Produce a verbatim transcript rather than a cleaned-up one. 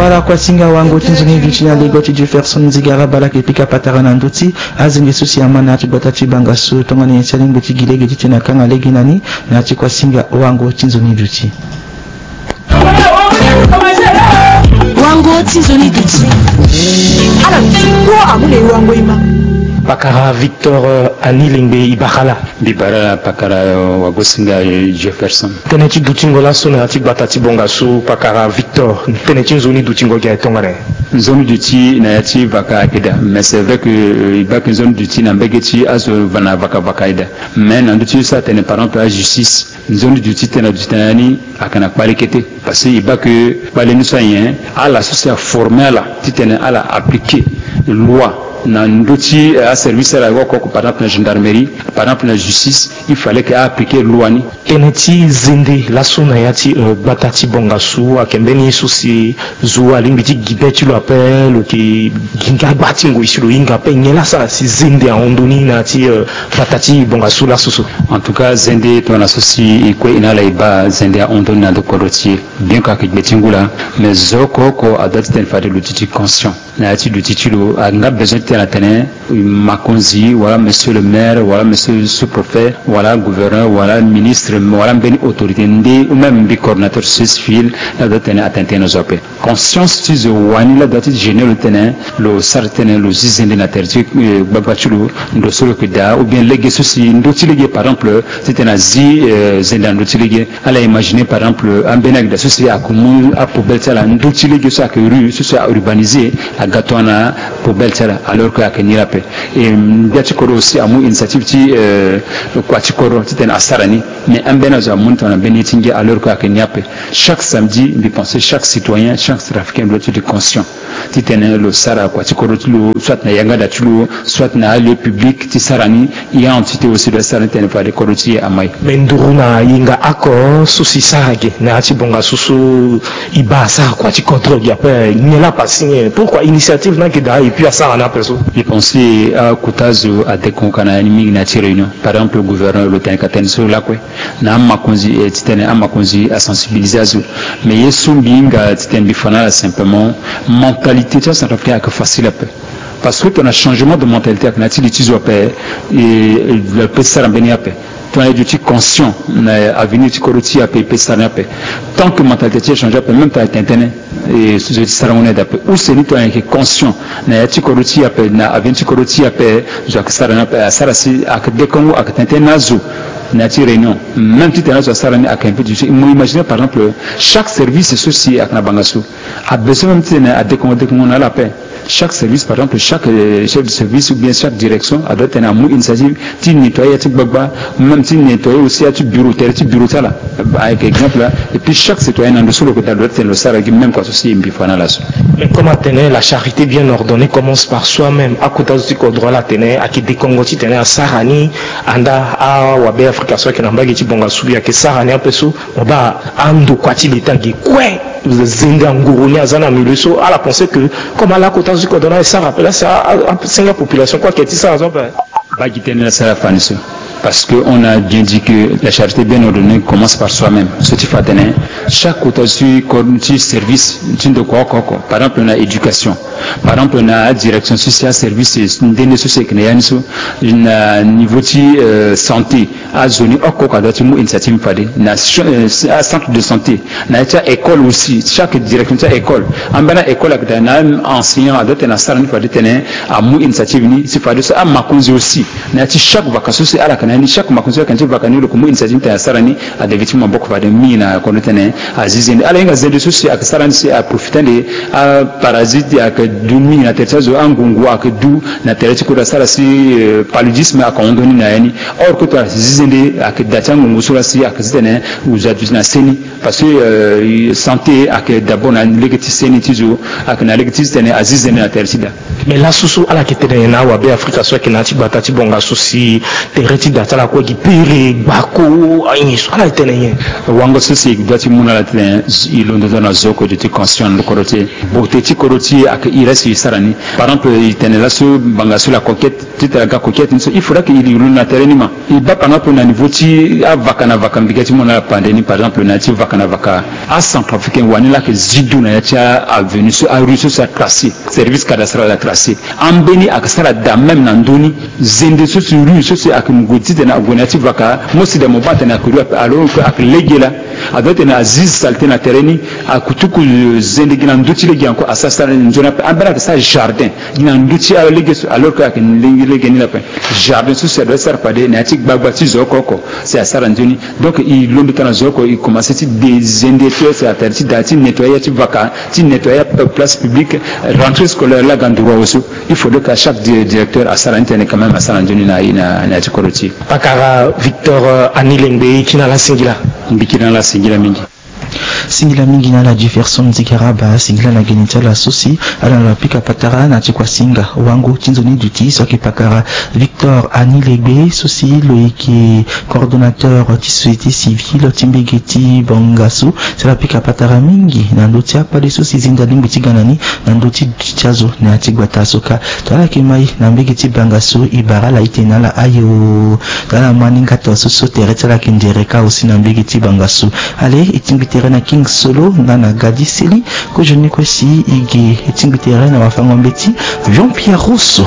Ala kuasinga wango ti nzoni duti na lego ti Jefferson Nzigara Bala ayeke pika patara na ndö ti azende so si ama na ya ti gbata ti Bangassou tongana nyen si alingbi ti gi lege titene akanga lege na ni na ya ti kuasinga wango ti nzoni duti. Wango ti nzoni duti. Ala duti kua amu na e wango e ma. Pakara Victor, eh, Anilingbe, e bara ala. Mbi bara ala pakara, eh, wagosinga, eh, Jefferson. Tënë ti dutingo laso na ya ti gbata ti Bangassou, pakara Victor, tënë ti nzoni dutingo gi aye tongana nyen? Nzoni duti na ya ti vaka ayeke daa, mais c'est vrai que, euh, e baa ke nzoni duti na mbege ti azo va na vaka vaka aye daa. Mais na ndö ti so atene par exemple ajustice, nzoni duti titene aduti na ya ni ayeke na kpale kete. Parce que e baa ke kpale ni so anyen, ala so si aforme ala titene ala appliquer loi na ndö ti, eh, aservice ala oko oko, par exemple na gendarmerie, par exemple na justice, il fallait que a appliquer loi ni. Tënë ti zende laso na ya ti, eh, gbata ti Bangassou ayeke mbeni so si zo alingbi ti gi be ti lo ape, lo yeke gi nga gba ti ngoi si lo hinga ape. Nyen laa asara si zende ahon ndoni na ya ti, eh, gbata ti Bangassou laso so? En tout cas, zende tongana so si e kue e na ala e baa, zende ahon ndoni na ndo kodro ti e. Bien que ayeke gbe ti ngu laa, mais zo oko oko adoit titene fade lo duti conscient na ya ti duti ti lo. Ayeke nga besoin titene atene makonzi wala monsieur le maire wala monsieur sous-préfet wala gouverneur wala ministre wala mbeni autorité nde ou même mbi coordonnateur société civile, la doit tene atene tënë na zo ape. Conscience ti zo wani la doit ti gêner lo titene lo sara titene lo zi zende na tere ti, eh, gbagba ti lo, ndo so lo yeke daa, ou bien lege so si ndö ti lege par exemple titene azi, eh, zende na ndö ti lege. Ala imaginer par exemple ambeni agda so si ayeke mu apoubelle ti ala ndö ti lege so ayeke rue so si a-urbaniser, aga tongana poubelle ti ala, alors que ayeke ni la ape. Et, mm, gbia ti kodro aussi amu initiative ti, euh, kua ti kodro titene asara ni. Mais ambeni azo amu ni tongana mbeni ye ti ngia, alors que ayeke ni ape. Chaque samedi, mbi pense chaque citoyen, chaque centrafricain doit être conscient titene lo sara kua ti kodro ti lo, soit na yanga da ti lo, soit na alieu public ti sara ni. E a entité aussi doit sara ni titene fade kodro ti e ama e. Mais nduru na yenga oko so si sara ge na ya ti Bangassou so, e baa asara kua ti kodro ge ape, nyen laa apasing nyen? Pourquoi initiative ni ayeke daa et puis asara ni ape so? Mbi pense akota zo adekongo ka na ya ni mingi na ya ti réunion. Par exemple gouverneur lo tene ka tene so lakue. Na amakonzi, eh, titene amakonzi asensibiliser azo. Mais ye so mbi hinga titene mbi fa na ala simplement, mentalité ti acentrafricain ayeke facile ape. Parce que tongana changement de mentalité ayeke na ya ti li ti zo ape, eh, lo peut sara mbeni ape. Tongana e duti conscient na avenir ti kodro ti e ape, e peut sara ni ape. Tant que mentalité ti e change ape, même tongana e tene tënë, e zo ti sarango ni daa ape. Use ni tongana e yeke conscient na ya ti kodro ti e ape, na avenir ti kodro ti e ape, zo ayeke sara ni ape, asara si ayeke dekongo, ayeke tene tënë na azo na ya ti réunion. Même titene azo asara ni ayeke invite zo. Mo imaginer par exemple chaque service so si ayeke na Bangassou a besoin même titene adekongo dekongo na ala ape. Chaque service, par exemple, chaque, euh, chef de service ou bien chaque direction a doit titene amu initiative ti nettoyer ya ti gbagba, même ti nettoyer aussi ya ti bureau, tere ti bureau ti ala. Ayeke exemple la. Et puis chaque citoyen na ndo so lo yeke daa, lo doit titene lo sara gi même kua so si mbi fa na ala so. Mais comme atene, la charité bien ordonnée commence par soi-même. Akota zo ti kodro ala tene ayeke dekongo titene asara ni, andaa awabe Afrika so ayeke na mbage ti Bangassou ayeke sara ni ape so. Mo baa andokua ti leta ge kue, zende anguru ni aza na milieu so, ala pense que comme ala kota zo ti kodro ni e sara ape, la si a, a, asenga population kue ayeke ti sara so ape. Baa gi tënë la si ala fa ni so. Parce que on a bien dit que la charité bien ordonnée commence par soi-même. So ti fa atene chaque kota zo ti ko-, ti service ti ndokua oko oko, par exemple na éducation, par exemple na direction so si aservice nde nde so si ayeke na ya ni so, na niveau ti, euh, santé, azo ni oko oko adoit ti mu initiative fade na, euh, acentre de santé, na ya ti aécole aussi, chaque direction ti aécole, ambeni aécole ayeke daa na enseignant adoit titene asara ni fade titene amu initiative ni. Si fade so amakonzi aussi na ya ti chaque vaka so si ala yeke na ya ni, chaque makonzi so ayeke na ya ti vaka ni lo yeke mu initiative titene asara ni. Ade gi ti maboko fade mingi na kodro titene azi zende. Ala hinga zende so si ayeke sara ni si aprofite ande, aparasite ayeke du mingi na tere ti azo, angungu ayeke du na tere ti kodro asara si, euh, paludisme ayeke hon ndoni na ya ni. Or que tongana si zi zende ayeke daa ti angungu so la si ayeke zi titene zo aduti na seni. Parce que, euh, santé ayeke d'abord na lege ti seni ti zo, ayeke na lege ti titene azi zende na tere ti daa. Mais laso so ala yeke tene na awabe Afrika so ayeke na ya ti gbata ti Bangassou si tere ti daa Tala kue gi pere gbako aye so ala tene nyen? Wango so si e doit ti mu na ala tene, e londo ndo na zo oko duti conscient na lo kodro ti e. Beauté ti kodro ti e ayeke iri so e sara ni. Par exemple, e tene laso ngbanga so la coquette, titene aga coquette ni so, il faudra que e londo na tere ni ma. E baa panga ape na niveau ti avaka na vaka, mbi ga ti mu na ala pande ni, par exemple na ya ti vaka na vaka. Acentrafricain wani laa ayeke zi du na ya ti a-avenue so, arue so si atracé, service cadastral atracé. Ambeni ayeke sara daa même na ndö ni. Zende so si rue so si ayeke mu gue titene ague na ya ti vaka, mo si daa mo baa atene ayeke rue ape, alors que ayeke lege laa. Adoit titene azi saleté na tere ni, akutuku zende gi na ndö ti lege encore asara sara nzoni ape. Ambeni ayeke sara jardin gi na ndö ti alege so, alors que ayeke lege lege ni laa ape. Jardin so si adoit ti sara fade na ya ti gbagba ti zo oko oko si asara nzoni. Donc e londo tara na zo oko, e commencé ti de zende ti, si atene ti daa ti nettoyer ya ti vaka, ti nettoyer place publique, rentrée scolaire laa aga nduru awe so. Il faudrait que chaque di-, directeur asara ni tënë quand même, asara nzoni na, na, na ya ti kodro ti e. Pakara Victor, euh, Anilengbe, e kiri na ala singila. Mbi kiri na ala singila mingi. Singila mingi na ala Jefferson Zigaraba, singila na geni ti ala so si ala na lo apika patara na ti kuasinga wango ti nzoni duti so ayeke pakara Victor Anilengbe so si lo yeke coordonnateur ti société civile ti mbege ti Bangassou. Si ala pika patara mingi na ndö ti akpale so si zinda lingbi ti ga na ni na ndö ti duti ti azo na ya ti gbata so kâ. Tongana ala yeke mai na mbege ti Bangassou, e bara ala itene na ala aye o. Tongana ala ma ni nga tongaso so tere ti ala yeke ndere kâ aussi na mbege ti Bangassou. Ale, e tingbi tere na King Solo nga na Gadi Seli. Kozoni kue si e ge, e tingbi tere na wafango-mbeti Jean Pierre Rousseau.